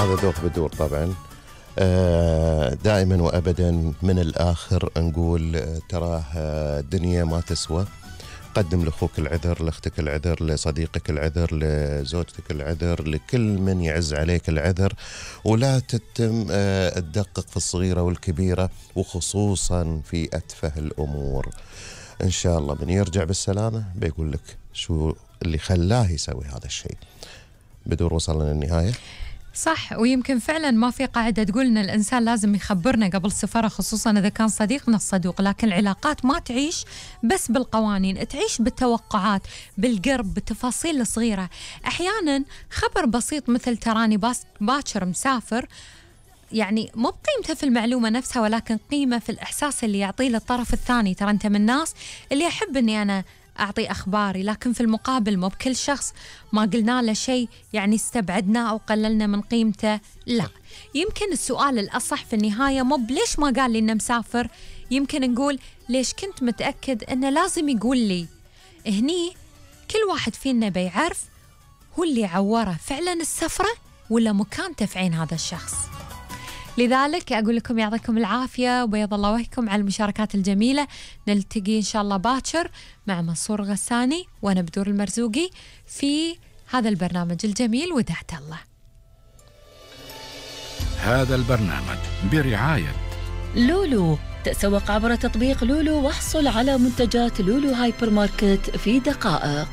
هذا ذوق بدور طبعا. دائما وأبدا من الآخر نقول تراه الدنيا ما تسوى. قدم لأخوك العذر، لأختك العذر، لصديقك العذر، لزوجتك العذر، لكل من يعز عليك العذر، ولا تتم تدقق في الصغيرة والكبيرة، وخصوصا في أتفه الأمور. إن شاء الله من يرجع بالسلامة بيقول لك شو اللي خلاه يسوي هذا الشيء. بدور وصلنا للنهاية. صح، ويمكن فعلا ما في قاعدة تقول إن الإنسان لازم يخبرنا قبل سفره، خصوصا إذا كان صديقنا الصدوق، لكن العلاقات ما تعيش بس بالقوانين، تعيش بالتوقعات، بالقرب، بالتفاصيل الصغيرة. أحيانا خبر بسيط مثل تراني باكر مسافر يعني مو بقيمته في المعلومة نفسها، ولكن قيمة في الإحساس اللي يعطيه للطرف الثاني. ترى أنت من الناس اللي أحب أني أنا أعطي أخباري، لكن في المقابل مو بكل شخص ما قلنا له شيء يعني استبعدناه أو قللنا من قيمته. لا، يمكن السؤال الأصح في النهاية مو بليش ما قال لي إنه مسافر، يمكن نقول ليش كنت متأكد إنه لازم يقول لي. هني كل واحد فينا بيعرف هو اللي عوره فعلا السفرة ولا مكانته في عين هذا الشخص. لذلك أقول لكم يعطيكم العافية وبيض الله وجهكم على المشاركات الجميلة. نلتقي إن شاء الله باكر مع منصور غساني وأنا بدور المرزوقي في هذا البرنامج الجميل ودعت الله. هذا البرنامج برعاية لولو. تسوق عبر تطبيق لولو واحصل على منتجات لولو هايبر ماركت في دقائق.